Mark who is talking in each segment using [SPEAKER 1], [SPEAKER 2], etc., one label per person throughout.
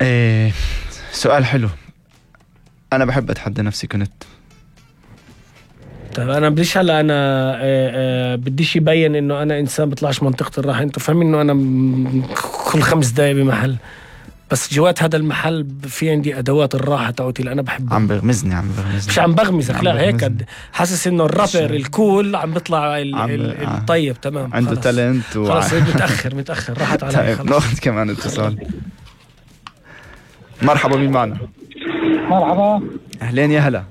[SPEAKER 1] إيه سؤال حلو. أنا بحب أتحدى نفسي كنت.
[SPEAKER 2] طيب أنا بديش هلا أنا بديش يبين إنه أنا إنسان بطلعش منطقة الراحة. أنتوا فاهمين إنه أنا كل 5 دقايق بمحل، بس جوات هذا المحل في عندي أدوات الراحة تاعتي اللي أنا بحبها.
[SPEAKER 1] عم بغمزني
[SPEAKER 2] مش عم بغمزك، لا هيك حاسس إنه الرابر الكول عم بيطلع الطيب. تمام،
[SPEAKER 1] عنده تالنت
[SPEAKER 2] خلاص متأخر راحت علي.
[SPEAKER 1] طيب ناخذ كمان اتصال. مرحبا، مين معنا؟
[SPEAKER 3] مرحبا،
[SPEAKER 1] أهلين يا هلا.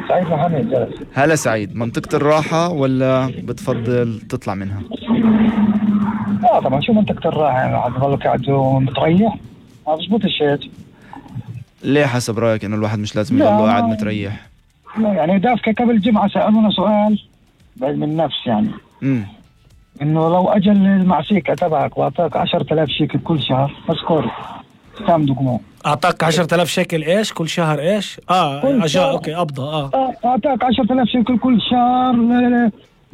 [SPEAKER 3] سعيد محمد جالس.
[SPEAKER 1] هلا سعيد، منطقة الراحة ولا بتفضل تطلع منها؟
[SPEAKER 3] لا طبعا، شو منطقة الراحة يعني قاعد تضلك قاعد ومتريح؟ ما بزبطش هيك.
[SPEAKER 1] ليه حسب رأيك إنه الواحد مش لازم يضله قاعد متريح؟
[SPEAKER 3] لا يعني دافك قبل الجمعة سألونا سؤال بعلم النفس يعني إنه لو أجل المعسيكة تبعك وأعطاك 10,000 شيكل كل شهر مذكور كم دقمو؟
[SPEAKER 2] أعطاك 10,000 شيكل إيش كل شهر إيش؟ أجا أوكي قبضة.
[SPEAKER 3] أعطاك 10,000 شيكل كل شهر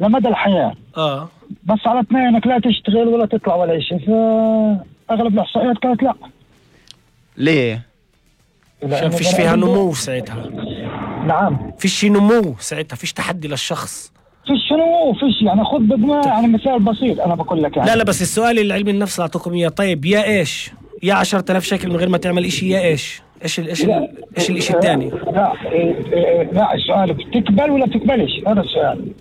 [SPEAKER 3] لمدى الحياة. بس على 2 إنك لا تشتغل ولا تطلع ولا شيء. فأغلب الإحصائيات كانت لا.
[SPEAKER 1] ليه؟
[SPEAKER 2] عشان فيش فيها نمو ساعتها.
[SPEAKER 3] نعم،
[SPEAKER 2] فيش نمو ساعتها، فيش تحدي للشخص.
[SPEAKER 3] فيش نمو، فيش يعني. خذ بدنا يعني مثال بسيط أنا بقول لك يعني.
[SPEAKER 2] لا بس السؤال اللي علم النفس اللي أعطوكم إياه، طيب يا إيش؟ يا 10,000 شيكل من غير ما تعمل إشي، يا إيش الإشي الثاني؟
[SPEAKER 3] لا السؤال بتقبل ولا بتقبلش؟ هذا السؤال.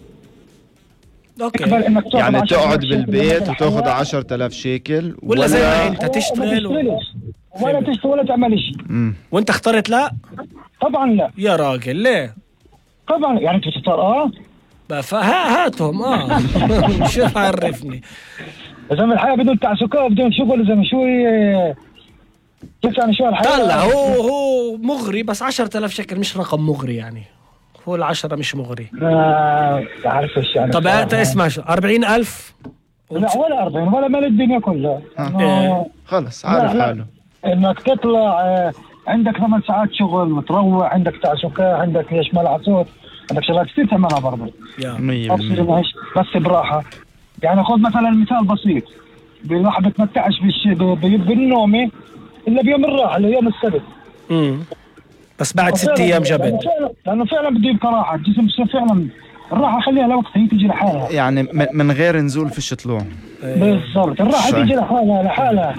[SPEAKER 2] اوكي،
[SPEAKER 1] يعني تقعد بالبيت وتاخذ 10,000 شيكل
[SPEAKER 2] ولا زي ما انت تشتغل
[SPEAKER 3] ولا تشتغل ولا تعمل شيء.
[SPEAKER 2] وانت اخترت لا؟
[SPEAKER 3] طبعا لا
[SPEAKER 2] يا راجل. ليه؟
[SPEAKER 3] طبعا يعني انت تختار
[SPEAKER 2] هاتهم شو عرفني.
[SPEAKER 3] زي الحياة بدون تعسكات بدون شغل، زي شو كيف يعني شو الحياة؟
[SPEAKER 2] طلع هو مغري، بس 10,000 شيكل مش رقم مغري يعني. هو 10 مش مغري.
[SPEAKER 3] تعرف ايش يعني.
[SPEAKER 2] طب انت اسمع شو 40,000؟
[SPEAKER 3] لا ولا 40 ولا مال الدنيا كلها.
[SPEAKER 1] خلص عارف حاله.
[SPEAKER 3] انك تطلع عندك 8 ساعات شغل وتروح، عندك تعسكات، عندك ليش ملعب صوت، عندك شغلات كثير تعملها برضه. 100% بس براحة. يعني خذ مثلا مثال بسيط، الواحد بتمتعش بالنومه الا بيوم الراحه اللي يوم السبت.
[SPEAKER 2] بس بعد 6 أيام جبت.
[SPEAKER 3] لانه فعلا بده يبقى راحه الجسم. فعلا الراحه خليها لوقت، هي تيجي لحالها
[SPEAKER 1] يعني من غير نزول فيش طلوع.
[SPEAKER 3] بالضبط، الراحه تيجي لحالها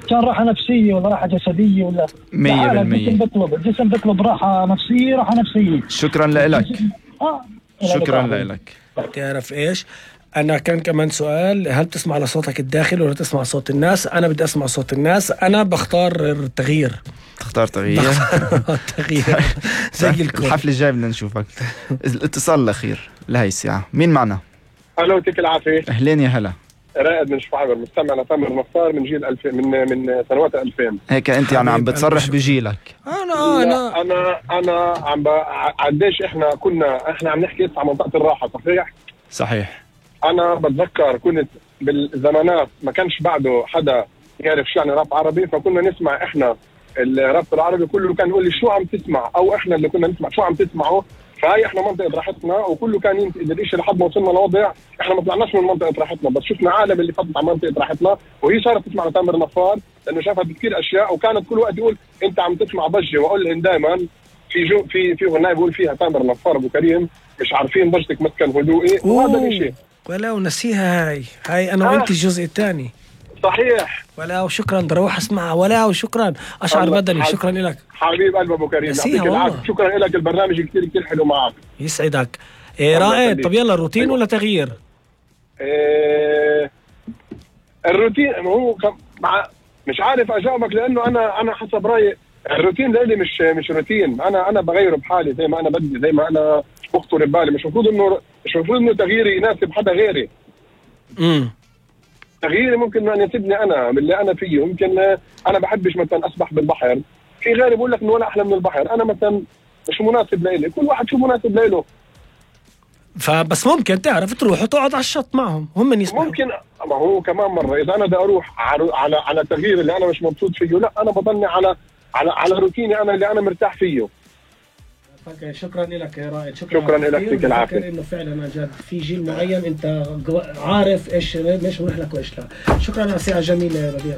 [SPEAKER 3] كان راحه نفسيه ولا راحه جسديه ولا
[SPEAKER 1] 100%.
[SPEAKER 3] الجسم بيطلب راحه نفسيه، راحه نفسيه.
[SPEAKER 1] شكرا لك. شكرا لك.
[SPEAKER 2] تعرف ايش، أنا كان كمان سؤال، هل تسمع لصوتك الداخل ولا تسمع صوت الناس؟ أنا بدي أسمع صوت الناس. أنا بختار التغيير.
[SPEAKER 1] تختار تغيير؟
[SPEAKER 2] تغيير زي الكل.
[SPEAKER 1] الحفلة الجاية بدنا نشوفك. الاتصال الأخير لهي الساعة، مين معنا؟
[SPEAKER 4] ألو، يعطيك العافية.
[SPEAKER 1] أهلين يا هلا.
[SPEAKER 4] رائد من شفاعبر، مستمع لتامر نصار من جيل 2000، من سنوات 2000.
[SPEAKER 1] هيك أنت يعني عم بتصرح بجيلك.
[SPEAKER 4] أنا عم قديش إحنا عم نحكي عن منطقة الراحة. صحيح. أنا بتذكر كنت بالزمانات ما كانش بعده حدا يعرف شو يعني راب عربي، فكنا نسمع إحنا الراب العربي كله كان يقول لي شو عم تسمع، أو إحنا اللي كنا نسمع شو عم تسمعوا. فهي إحنا منطقة راحتنا، وكله كان ينتقد الإشي لحد ما وصلنا لوضع إحنا ما طلعناش من منطقة راحتنا، بس شفنا عالم اللي فتت على منطقة راحتنا، وهي صارت تسمع لتامر نصار لأنه شافت كثير أشياء، وكانت كل وقت يقول أنت عم تسمع ضجة. وأقول لهم دائما في غناية بقول فيها تامر نصار أبو كريم مش عارفين ضجتك مسكن هدوئي، وهذا الشيء
[SPEAKER 2] ولا ونسيها. هاي أنا وأنت الجزء الثاني.
[SPEAKER 4] صحيح.
[SPEAKER 2] ولا وشكرا، بروح اسمعها. ولا وشكرا، أشعر بدني. شكرا لك
[SPEAKER 4] حبيب قلب أبو كريم، يعطيك العافية. شكرا لك، البرنامج كثير حلو معك.
[SPEAKER 2] يسعدك. رائد. طب يلا، روتين ولا تغيير؟
[SPEAKER 4] الروتين هو مش عارف أجاوبك، لأنه أنا حسب رأيي الروتين لإلي مش روتين. أنا بغيره بحالي زي ما أنا بدي، زي ما أنا بخطر ببالي. مش المفروض إنه تغييري يناسب حدا غيري. تغييري ممكن أن يناسبني أنا باللي أنا فيه. ممكن أنا بحبش مثلا أسبح بالبحر، في غيري بقول لك إنه ولا أحلى من البحر. أنا مثلا مش مناسب لإلي، كل واحد شو مناسب لإله.
[SPEAKER 2] فبس ممكن تعرف تروح وتقعد على الشط معهم، هم يسمعوا.
[SPEAKER 4] ممكن، ما هو كمان مرة إذا أنا بدي أروح على التغيير اللي أنا مش مبسوط فيه، لا أنا بضلني على روتيني أنا اللي أنا مرتاح فيه.
[SPEAKER 2] شكرا لك يا رائد.
[SPEAKER 4] شكرا لك، يعطيك العافيه.
[SPEAKER 2] انه فعلا جد في جيل معين انت عارف ايش مش مريح لك وايش لا. شكرا على الساعه الجميله يا ربيع.